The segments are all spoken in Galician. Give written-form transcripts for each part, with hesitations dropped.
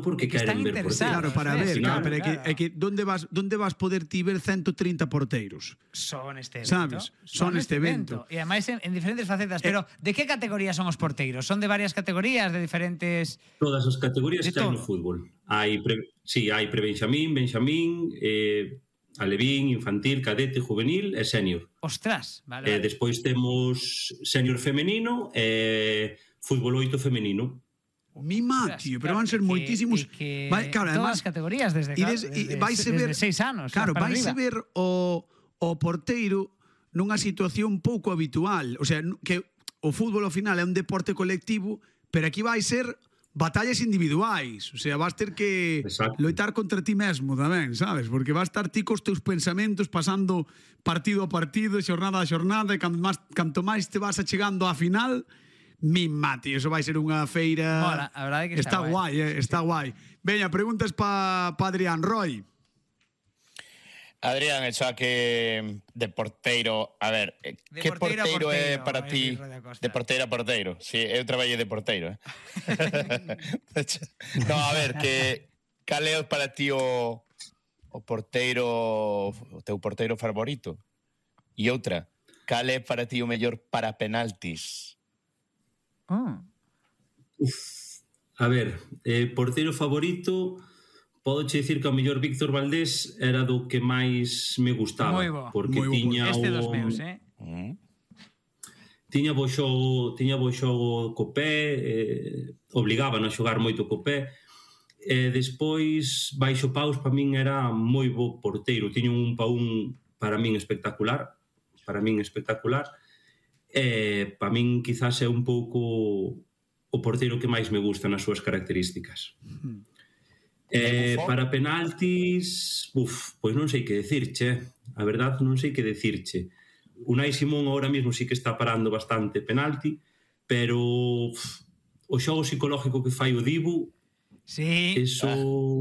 porque queren ver porteiros. Claro, para ver, pero é que onde vas poder ti ver 130 porteiros? Son este evento. Sabes? Son este evento. E ademais en diferentes facetas. Pero de que categorías son os porteiros? Son de varias categorías, de diferentes... Todas as categorías que hai no fútbol. Hai pre-benxamín, benxamín, alevín, infantil, cadete, juvenil e sénior. Ostras, vale. Despois temos sénior femenino e fútbol 8 femenino. Mima, tío, pero van ser moitísimos. Claro, todas as categorías desde 6 anos. Claro, vais a ver o porteiro nunha situación pouco habitual. O sea, que o fútbol ao final é un deporte colectivo, pero aquí vai ser batallas individuais. O sea, vas ter que loitar contra ti mesmo tamén, sabes? Porque vas estar ti cos teus pensamentos pasando partido a partido, xornada a xornada, e canto máis te vas achegando á final... Mima, tío, eso vai ser unha feira... Mola, a verdade que está guai. Está guai. Veña, preguntas pa Adrián. Roy. Adrián, xa que de porteiro, a ver, que porteiro é para ti? De porteiro a porteiro. Si, eu traballei de porteiro, No, a ver, cal é para ti o porteiro, o teu porteiro favorito? E outra, cal é para ti o mellor para penaltis? A ver, porteiro favorito, podo che dicir que o mellor Víctor Valdés era do que máis me gustaba. Moi bo. Porque tiña este dos meus, tiña bo xogo co pé, obligaban a xogar moito co pé. Despois, baixo paus, para min era moi bo porteiro. Tiña un pa un para min espectacular. Para min quizás é un pouco o porteiro que máis me gusta nas súas características. Para penaltis, pois non sei que decirche. A verdade non sei que decirche. Unai Simón ahora mesmo sí que está parando bastante penalti, pero o xogo psicológico que fai o Dibu, eso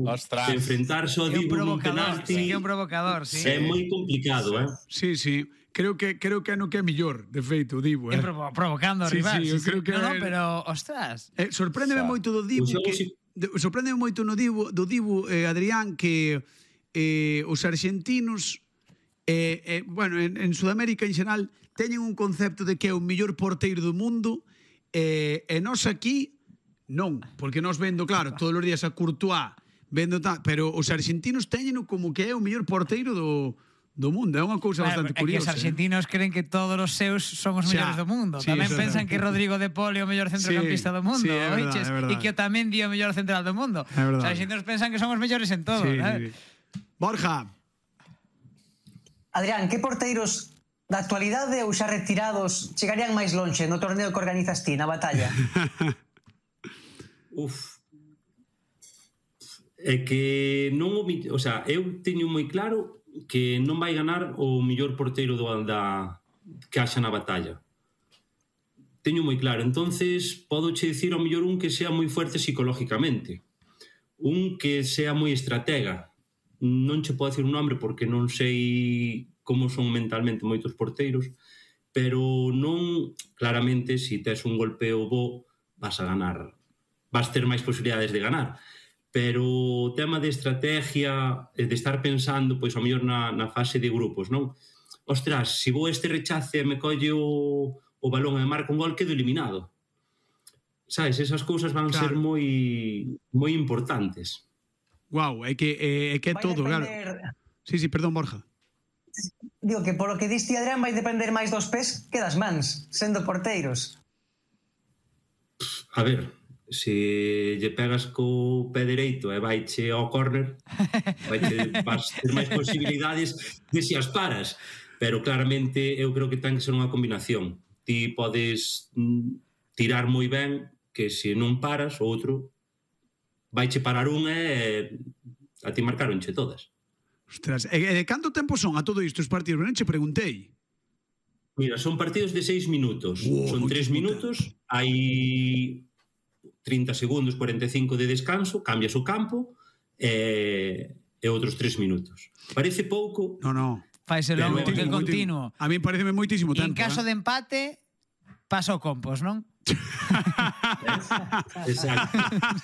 de enfrentarse ao Dibu nun penalti é un provocador, é moi complicado, Sí. Creo que é no que é mellor, de feito, o Dibu. Provocando ao rival. Sí, creo que pero, ostras. Sorpréndeme moito do Dibu, sorpréndeme moito do Dibu, Adrián, que os arxentinos, bueno, en Sudamérica en xeral, teñen un concepto de que é o mellor porteiro do mundo, e nós aquí non, porque nós vendo, claro, todos os días a Courtois, pero os arxentinos teñen como que é o mellor porteiro do mundo. É unha cousa bastante curiosa. É que os argentinos creen que todos os seus son os mellores do mundo. Tamén pensan que Rodrigo de Paul é o mellor centrocampista do mundo, e que o tamén di o mellor central do mundo. Os argentinos pensan que son os mellores en todo. Borja. Adrián, que porteiros da actualidade ou xa retirados chegarían máis lonxe no torneo que organizas ti, na batalla? É que non, o sea, eu teño moi claro que non vai ganar o mellor porteiro que haxa na batalla. Teño moi claro. Entonces, podo che dicir ao mellor un que sea moi fuerte psicológicamente. Un que sea moi estratega. Non che podo dicir un nombre porque non sei como son mentalmente moitos porteiros, pero non, claramente, se tes un golpeo bo, vas a ganar. Vas ter máis posibilidades de ganar. Pero o tema de estrategia, de estar pensando, pois, ao mellor na fase de grupos, non? Ostras, se vou este rechace e me colle o balón e marca un gol, quedo eliminado. Sabes, esas cousas van ser moi importantes. Guau, é que é todo, claro. Sí, perdón, Borja. Digo que polo que diste, Adrián, vai depender máis dos pés que das mans, sendo porteiros. A ver, se lle pegas co pé dereito e vaiche ao córner, vas ter máis posibilidades de se as paras. Pero claramente eu creo que ten que ser unha combinación. Ti podes tirar moi ben, que se non paras, o outro vaiche parar un e a ti marcaronche todas. Ostras, e canto tempo son a todo isto os partidos? Non che preguntei. Mira, son partidos de 6 minutos. Son 3 minutos, hai 30 segundos, 45 de descanso, cambias o campo e outros 3 minutos. Parece pouco. No. Faise longo porque é continuo. A mí pareceme moitísimo tempo. En caso de empate, pasa o compos, non? Exacto.